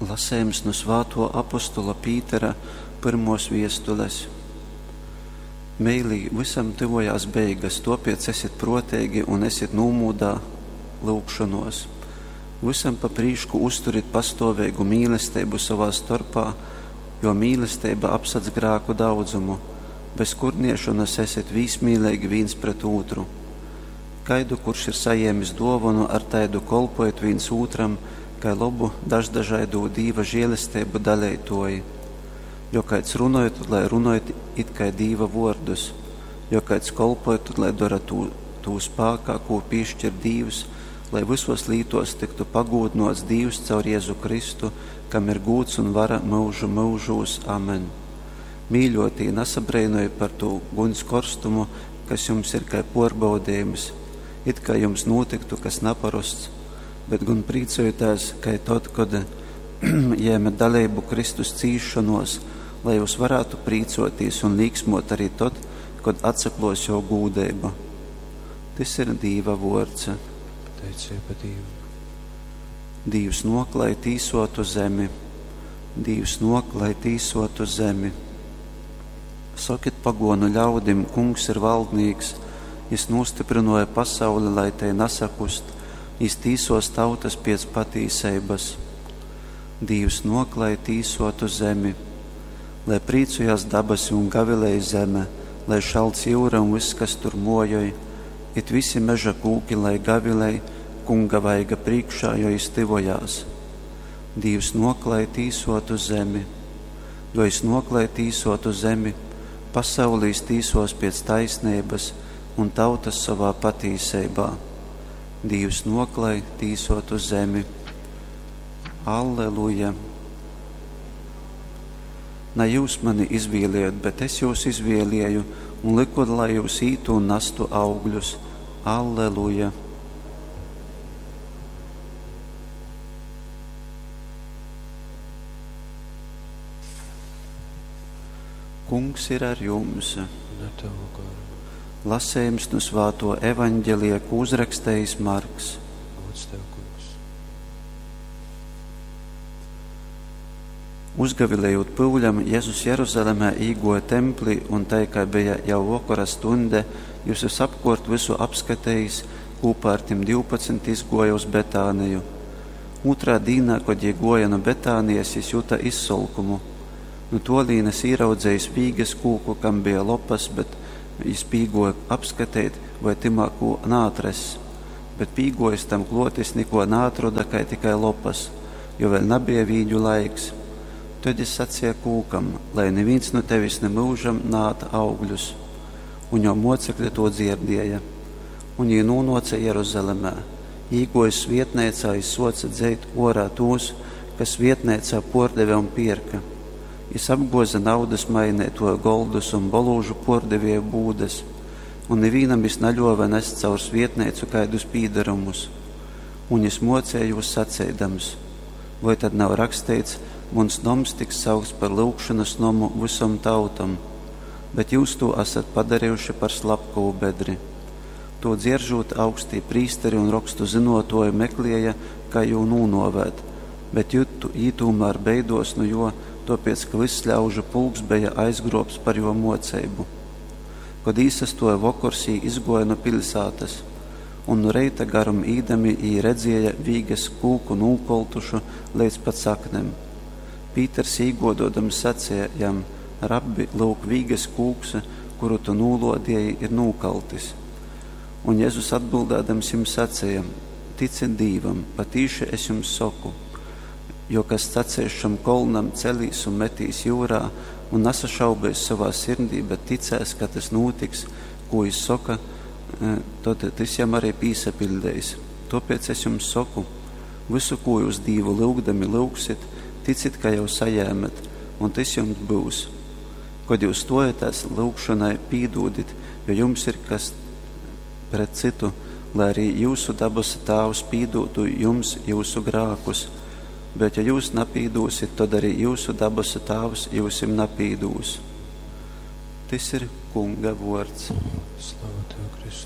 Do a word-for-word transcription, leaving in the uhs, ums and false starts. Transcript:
Lasejums nu svātuo apostola Pītera pyrmuos viestules. Meilī, vysam tyvojās beigas, tuopiec esit pruoteigi un esit nūmūdā lyugšonuos. Vysam pa prīšku uzturit pastuoveigu mīlesteibu sovā storpā, jo mīlesteiba apsadz grāku daudzumu. Bez kurniešonys esit vīsmīleigi vīns pret ūtru. Kaidu, kurš ir sajēmis duovonu, ar taidu kolpojit vīns ūtram, kai lobu daždažaidū Dīva žielesteibu daleituoji. Jo kaids runoj, tod lai runoj it kai Dīva vuordus. Jo kaids kolpoj, tod lai dora tū, tū spākā, kū pīškir Dīvs, lai vysuos lītuos tyktu pagūdynuots Dīvs caur Jezu Kristu, kam ir gūds un vara myužu myužūs. Amen. Mīļuotī, nasabreinojit par tū guņs korstumu, kas jums ir kai puorbaudejums, it kai jums nūtyktu kas naparosts, bet gon prīcojitēs, kai tod, kod jēmet daleibu Kristus cīsšonuos, lai jūs varātu prīcuotīs un līksmuot arī tod, kod atsakluos juo gūdeiba. Tys ir Dīva vuords. Pateiceiba Dīvam. Dīvs nuok, lai tīsuotu zemi. Dīvs nuok, lai tīsuotu zemi. Sokit paguonu ļaudim, Kungs ir valdnīks, jis nūstyprynuoja pasauli, lai tei nasakust, jis tīsuos tautys piec patīseibys. Dīvs nuok, lai tīsuotu zemi. Lai prīcojās dabasi un gavilej zeme, lai šalc jyura un vyss, kas tur muojoj, it visi meža kūki, lai gavilej Kunga vaiga prīškā, jo jis tyvojās. Dīvs nuok, lai tīsuotu zemi. Jo jis nuok, lai tīsuotu zemi, pasauli jis tīsuos piec taisneibys un tautys sovā patīseibā. Dīvs nuok, lai tīsuotu zemi. Alleluja! Na jūs mani izvieliejot, bet es jūs izvielieju un lyku, lai jūs ītu un nastu augļus. Alleluja! Kungs ir ar jums! Un ar tavu goru. Lasejums nu svātuo evaņģelija, kū uzrakstejis Marks. Gods tev, Kungs. Uzgavilejūt pyuļam, Jezus Jeruzalemē īguoja templī un tai, kai beja jau vokora stuņde, jis vysapkuort vysu apskatejis, kūpā ar tim divpadsmit izguoja uz Betāniju. Ūtrā dīnā, kod jī guoja nu Betānijas, jis juta izsolkumu. Nu tuolīnes īraudzejis vīges kūku, kam bija lopas, bet jis pīguoja apskateit, voi tymā kū naatrass. Bet pīguojis tam kluot, jis nikuo naatroda, kai tikai lopas, jo vēļ nabeja vīģu laiks. Tod jis saceja kūkam, lai nivīns nu tevis nimyužam naād augļus. Un juo muocekli tū dzierdieja. Un jī nūnuoce Jeruzalemē. Īguojis svietneicā, jis suoce dzeit uorā tūs, kas svietneicā puordeve un pierka. Jis apguoze naudys maineituoju goldus un bolūžu puordevieju būdes, un nivīnam jis naļuove nest caur svietneicu kaidus pīdarumus. Un jis muoceja jūs saceidams: Voi tad nav raksteits, muns noms tiks saukts par lyugšonys nomu vysom tautom? Bet jūs tū asat padarejuši par slapkovu bedri. Tū dzieržūt, augstī prīsteri un rokstu zynuotuoji meklieja, kai jū nūnuovēt, bet jī tūmār beiduos nu juo, tuopiec ka vyss ļaužu pulks beja aizgruobts par juo muoceibu. Kod īsastuoja vokors, jī izguoja nu piļsātys. Un nu reita garum īdami jī redzieja vīges kūku nūkoltušu leidz pat saknem. Pīters īguoduodams saceja jam: Rabbi, lyuk, vīges kūks, kuru tu nūluodieji, ir nūkaltis. Un Jezus atbildādams jim saceja: Ticit Dīvam, patīši es jums soku, jo kas saceis šam kolnam celīs un metīs jūrā un nasašaubeis sovā sirdī, bet ticēs, ka tys nūtiks, kū jis soka, tod tys jam arī pīsapiļdeis. Tuopiec es jums soku, vysu, kū jūs Dīvu lyugdami lyugsit, ticit, ka jau sajēmet, un tys jums byus. Kod jūs stuojatēs lyugšonai, pīdūdit, jo jums ir kas pret cytu, lai arī jūsu dabasu Tāvs pīdūtu jums jūsu grākus. Bet ja jūs napīdūsit, tod arī jūsu dabasu Tāvs jyusim napīdūs. Tys ir Kunga vuords. Slava tev, Kristu.